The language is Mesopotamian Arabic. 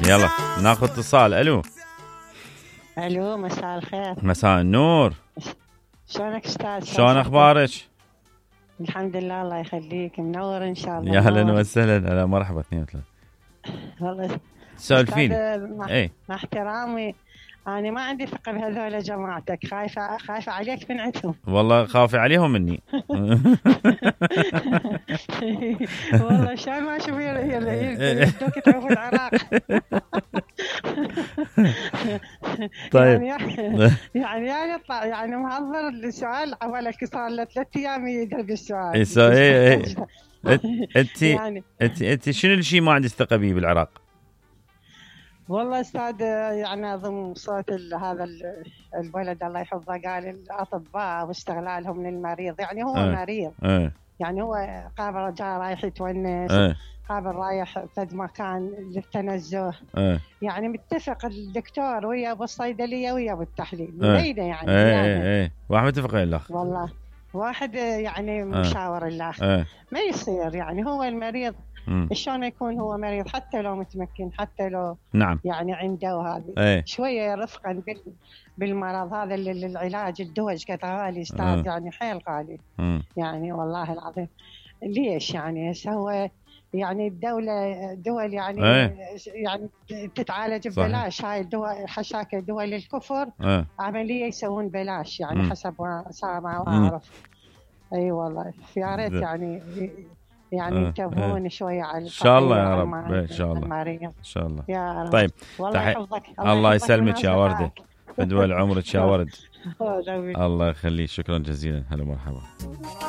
يلا ناخذ اتصال. الو مساء الخير. مساء النور. شلونك استاذ؟ شلون اخبارك؟ الحمد لله الله يخليك، منور ان شاء الله. يا اهلا وسهلا. هلا مرحبا. 2 و 3 والله سولفيني. اي مع احترامي انا ما عندي ثقه بهذول جماعتك، خايفه عليك من عندهم. والله خافي عليهم مني. والله شلون ما اشوف يدوك تروحوا العراق. طيب يعني محضر السؤال عبالك صار له 3 ايام يقرب السؤال. انت شنو الشيء ما عندك ثقه به بالعراق؟ والله استاذ يعني اظن صوت هذا الولد الله يحفظه قال الاطباء واستغلالهم للمريض، يعني هو مريض. يعني هو قابل رجال رايح يتونس، قابل رايح فد مكان للتنزه. يعني متفق الدكتور ويا بالصيدليه ويا بالتحليل بعيده يعني. واحد متفق وياه والله واحد يعني مشاور الله. ما يصير يعني هو المريض شلون يكون هو مريض حتى لو متمكن، حتى لو نعم يعني عنده وهذه شويه رفقا بالمرض هذا اللي العلاج الدواء قد غالي استاذ، يعني حيل غالي. يعني والله العظيم ليش يعني هو يعني الدولة دول يعني يعني تتعالج ببلاش. هاي الدول حشاك دول الكفر عملية يسوون بلاش يعني حسب ما أعرف. أي والله يا ريت يعني ينتبهون شوية على إن شاء الله يا رب. إن شاء الله إن شاء الله يا رب. طيب الله يسلمك يا وردة، فدوى عمرك يا ورد. الله يخليك. شكرا جزيلا. هلا مرحبا.